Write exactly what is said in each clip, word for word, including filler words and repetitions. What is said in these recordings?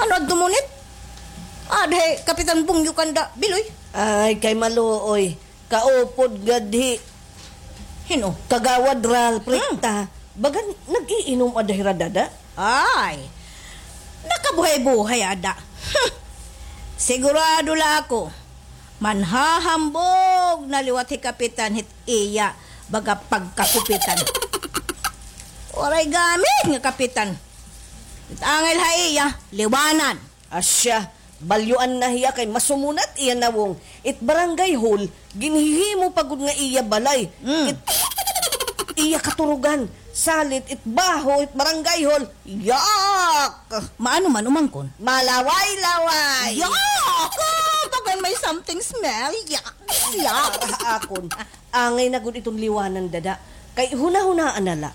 Ano adto, Munit? Ada hi Kapitan Bungyo kanda Biloy. Ay, kay maluoy. Kaupod gad hi Hin-o? Kagawad Ralph, hmm, Rita. Bagan nag-iinom ada hira, dada? Ay, nakabuhay-buhay ada. Hmm. Sigurado la ako, manhahambog na liwat hi Kapitan hit iya baga pagkakupitan. Waray gamit nga kapitan. It angay ha iya, liwanan. Asya, balyuan na hiya kay masumunat iya nawong. It barangay hall, ginhihimo pa gud nga iya balay. Mm. It iya katurugan, salit it baho, it barangay hall. Yak! Maano man umangkon? Malaway-laway. Yak! Ah, bagan may something smell. Yak! Yak! Para ha akon, angay na gud iton liwanan, dada. Kay hunahunaan na la.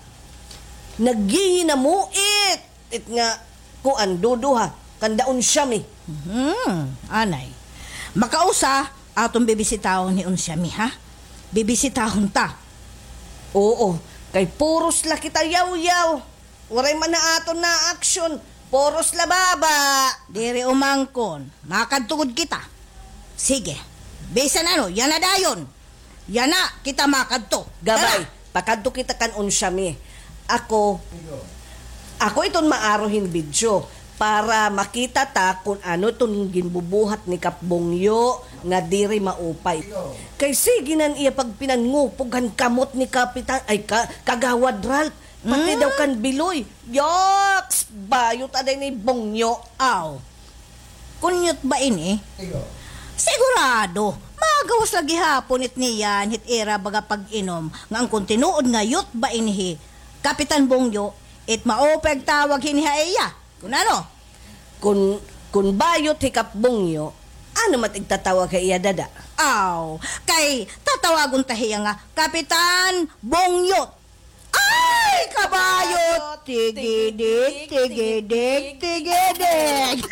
Naggihinamuit. It nga, kuan, duduha, kanda Unsyami. Mhm, anay. Makausa, aton bibisitahon hi Unsyami, ha? Bibisitahon ta. Oo, kay puros la kita yawyaw. Waray man na aton na aksyon. Puros la baba. Diri umangkon. Makadto gud kita. Sige. Bisan ano, yana dayon. Yana, kita makadto. Gabay, tara. Pakadto kita kan Unsyami. Ako, ako iton maaro hin video para makita ta kun ano iton ginbubuhat ni Kap Bungyo nga diri maupay. Kay sige nan iya pagpinangupog han kamot ni Kapitan, ay, ka, Kagawad Ralph, pati daw kan Biloy. Yaks! Bayot aday ni Bungyo. Aw. Kun yot ba ini? Sigurado, magawas la gihapon it niyan hit ira baga pag-inom, nga an kun tinuod nga yot ba ini hi Kapitan Bungyo, it maupay tawag hini ha iya. Kun ano? Kun, kun bayot hi Kap Bungyo, ano man it igtatawag ha iya, dada? Aw, kay tatawagon ta hiya nga Kapitan Bungyot. Ay, kabayot! Tigidig, tigidig, tigidig!